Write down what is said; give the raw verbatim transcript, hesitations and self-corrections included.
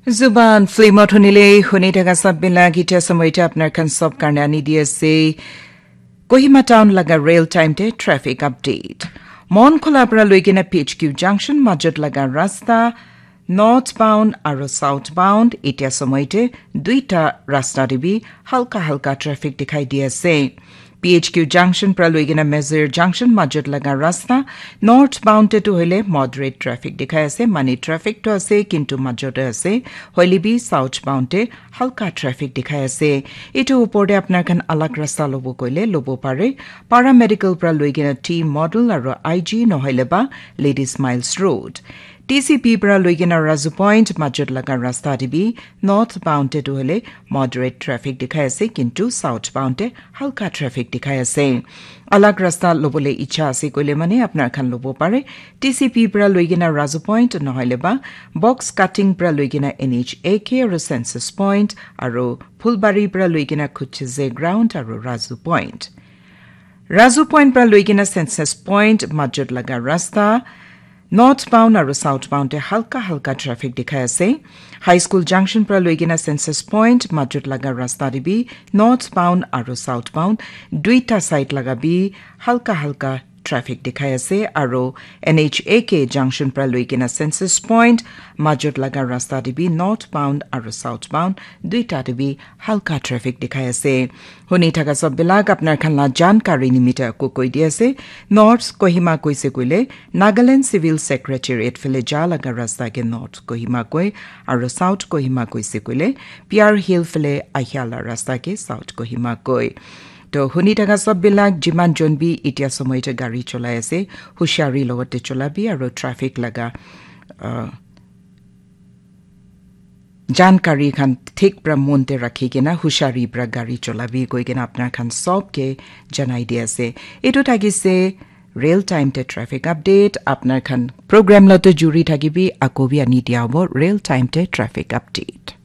Zuban film ot hunile huni thaka sab bila gita samoita apnar khan sab karne ani di ase. Kohima town laga real time te traffic update. Mon khola pra loigena P H Q junction majot laga rasta northbound aro southbound etia samoite duita rasta te bi halka halka traffic dikhai di ase. P H Q junction pra loigena Mezir junction majot laga rasta northbound te tu hoile moderate traffic dikhai ase, mane traffic to ase kintu majot te ase, hoile bi southbound te halka traffic dikhai ase. Etu upor te apnar khan alag rasta lobo koile lobo pare. Paramedical pra loigena T Model aro I G nohoile ba Ladies Miles Road. T C P pra loigena Razu Point majot laga rasta te bi northbound te tu hoile moderate traffic dikhai ase, kintu southbound te halka traffic dikhai ase. Alag rasta lobole icha ase koile mane apnar khan lobo pare. T C P pra loigena Razu Point nohoile ba box cutting pra loigena N H A K aro census point aro Phulbari pra loigena Khucheze ground aro Razu Point. Razu Point pra loigena census point majot laga rasta northbound aro southbound te halka halka traffic dikhai ase. High School junction pra loigena census point majot laga rasta te bi northbound aro southbound duita side laga bi halka halka traffic dikhai ase, aro N H A K junction pra loigena census point majot laga rasta te bi northbound aro southbound duita te bi halka traffic dikhai ase. Huni thaka sab bilak apnar khan la jankari nimita ko koi di ase. North Kohima koise koile Nagaland Civil Secretariat phale ja laga rasta ke North Kohima koi, aro South Kohima koise koile Piar Hill phale ahia la rasta ke South Kohima koi. To huni thaka sab bilak jiman jon bi itia somoy te gari cholai ase, hushari logote cholabi aro traffic laga, uh, jankari khan thik pra mon te rakhi kena hushari pra gari cholabi koi kena apnar khan sob ke janai di ase. Etu thakise real time te traffic update. Apnar khan program lote juri thakibi, ako bi ani dia hobo real time te traffic update.